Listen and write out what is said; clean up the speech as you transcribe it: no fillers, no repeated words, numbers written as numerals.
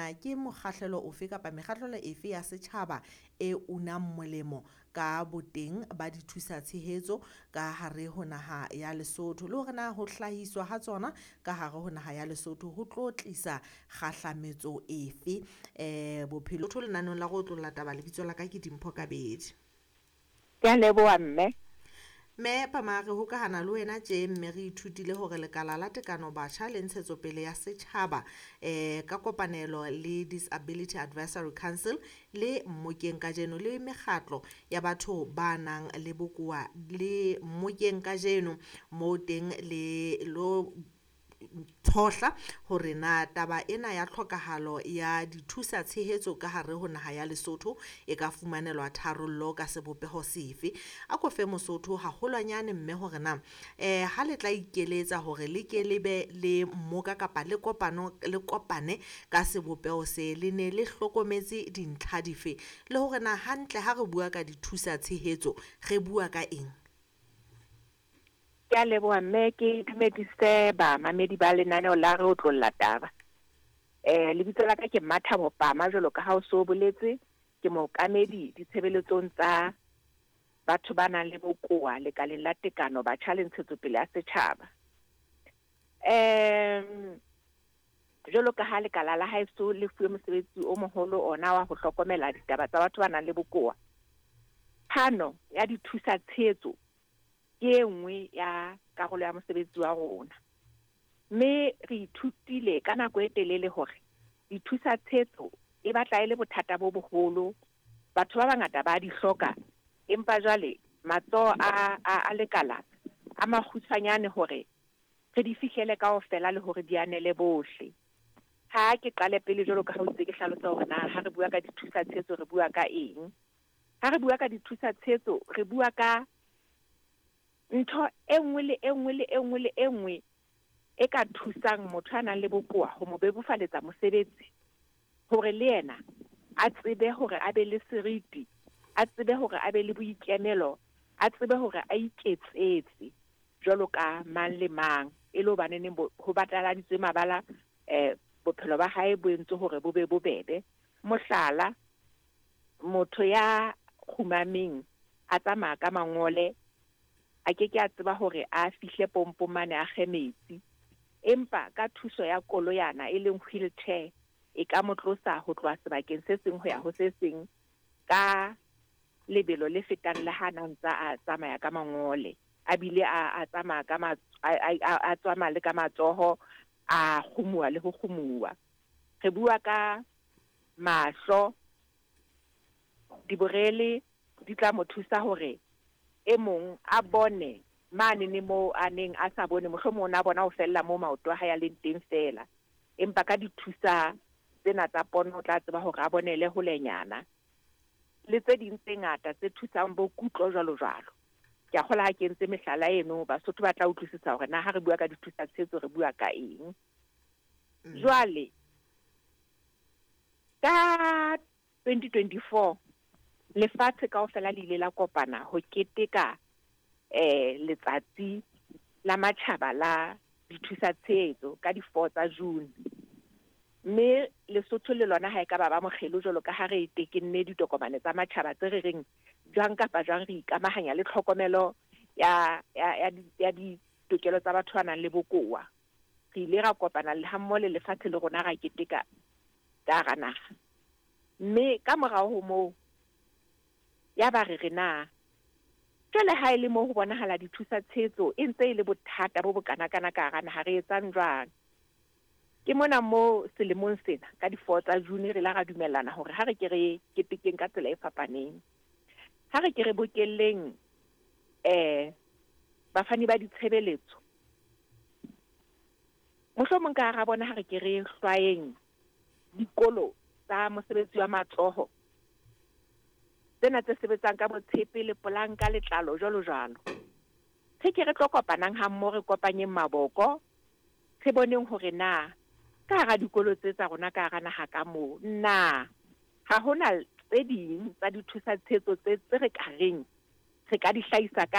na ke mokgahlelo ofe kapa mekgahlelo efe ya setjhaba e unang molemo ka boteng ba dithusa tshehetso ka hare ho naha ya Lesotho, le hore na ho hlahiswa ha tsona ka hare ho naha ya Lesotho ho tlo tlisa kgahlametso efe bophelo lenaneong la go otlolla taba. Lebitso la ka ke Dimpho Kabedi. Ke a leboha, mme. Mme Pama, re hokahana le wena tje mme re ithutile hore lekala la tekano batjha le ntshetsopele ya setjhaba ka kopanelo le Disability Advisory Council le mmokeng kajeno le mekgatlo ya batho ba nang le bokowa le mmokeng kajeno mo teng le lo tshohla hore na taba ena ya tlhokahalo ya dithusa tshehetso ka hare ho naha ya Lesotho e ka fumanelwa tharollo ka sebopeho sefe. A ko fe Mosotho haholwanyane mme hore na ha le tla ikeletsa hore le ke le be le mmoka kapa le kopano le kopane ka sebopeho se, le ne le hlokometse dintlha dife, le hore na hantle ha re bua ka dithusa tshehetso re bua ka eng? Ke a leboha, mme. Ke dumedise bamamedi ba lenaneo la re otlolla taba. Lebitso la ka ke Mathabo Pama, jwalo ka ha o so boletse. Ke mookamedi ditshebeletsong tsa batho ba nang le bokowa lekaleng la tekano batjha le ntshetsopele ya setjhaba. Jwalo ka ha lekala la haeso le fuwe mosebetsi o moholo ona wa ho hlokomela ditaba tsa batho ba nang le bokowa, phano ya dithusa tshehetso ke e nngwe ya karolo ya mosebetsi wa rona. Mme re ithutile ka nako e telele hore dithusa tshehetso e batla e le bothata bo boholo. Batho ba bangata ba di hloka, empa jwale matsoho a lekala a makgutshwanyane hore re di fihlele kaofela le hore di anele bohle. Ha ke qale pele, jwalo ka ha o itse, ke hlalosa hore na ha re bua ka dithusa tshehetso re bua ka eng. Ha re bua ka dithusa tshehetso, re bua ka ntho e nngwe le e nngwe le e nngwe le e nngwe e ka thusang motho a nang le bokowa ho mo bebofaletsa mosebetsi, hore le yena a tsebe hore a be le seriti, a tsebe hore a be le boikemelo, a tsebe hore a iketsetse jwalo ka mang le mang, e le hobaneneng ho bataladitswe mabala, bophelo ba hae bo entswe hore bo be bobebe. Mohlala, motho ya kgumameng a tsamaya ka mangole a ke ke a tseba hore a fihle pompong mane a kge metsi, empa ka thuso ya koloyana e leng wheelchair e ka mo tlosa ho tloha sebakeng se seng ho ya ho se seng ka lebelo le fetang le ha na ntsa a tsamaya ka mangole, a bile a tsamaya ka a tsamaya le ka matsoho, a kgumuwa le ho kgumuwa. Re bua ka mahlo, diborele di tla mo thusa hore e mong a bone mane ne moo a neng a sa bone, mohlomong o na bona ho fella moo maoto a hae a leng teng feela, empa ka dithusa tsena tsa pono o tla tseba hore a bonele holenyana, le tse ding tse ngata tse thusang bo kutlo jwalo jwalo. Ke a kgolwa ha ke entse mehlala eno, Basotho ba tla utlwisisa hore na ha re bua ka dithusa tshehetso re bua ka eng. Jwale ka 2024 lefatshe kaofela le ile la kopana ho keteka letsatsi la matjhaba la dithusa tshehetso ka di-4 tsa June. Mme Lesotho le lona ha e ka ba ba mokgelo, jwalo ka ha re tekenne ditokomane tsa matjhaba tse re reng jwang kapa jwang re ikamahanya le tlhokomelo ya ditokelo tsa batho ba nang le bokowa. Re ile ra kopana le hammoho le lefatshe le rona ra keteka ka hara naha. Mme ka morao ho moo ya ba re re na jwale ha e le moo ho bonahala dithusa tshehetso e ntse e le bothata bo bokanakana ka hara naha, re etsang jwang? Ke mona mo selemong sena ka di-4 tsa June re la ra dumellana hore ha re ke re ketekeng ka tsela e fapaneng. Ha re ke re bokelleng bafani ba ditshebeletso, mohlomong ka hara bona ha re ke re hlwayeng dikolo tsa mosebetsi wa matsoho tsena tse sebetsang ka botshepe le polanka, letlalo, jwalo jwalo. Re ke re tlo kopanang ha mmoho, re kopanyeng maboko, re boneng hore na ka hara dikolo tse tsa rona ka hara naha ka moo na ha hona tse ding tsa dithusa tshehetso tse re ka reng re ka di hlahisa ka